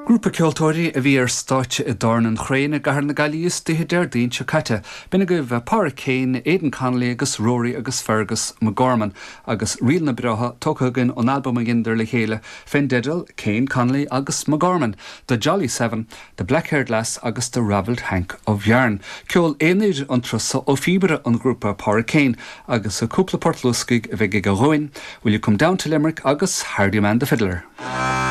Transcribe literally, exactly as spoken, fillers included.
Grúpa ceoltóirí a bhí ar stáitse i dTábhairne an Chrane i gCathair na Gaillimhe istoíche Déardaoin seo caite, B'in agaibh Pádraig Kane, Aidan Connolly agus Rory agus Fergus McGorman, agus ríleanna breátha tógtha againn ón albam a dheineadar le chéile fén dteideal Kane Connolly agus McGorman, The Jolly Seven, The Black-Haired Lass agus The Ravelled Hank of Yarn. Ceol aonair an turas so ó phíobaire an ghrúpa Pádraig Kane agus cúpla port luascaigh a bheidh aige dhúinn, Will You Come Down to Limerick agus Hardy Man the Fiddler.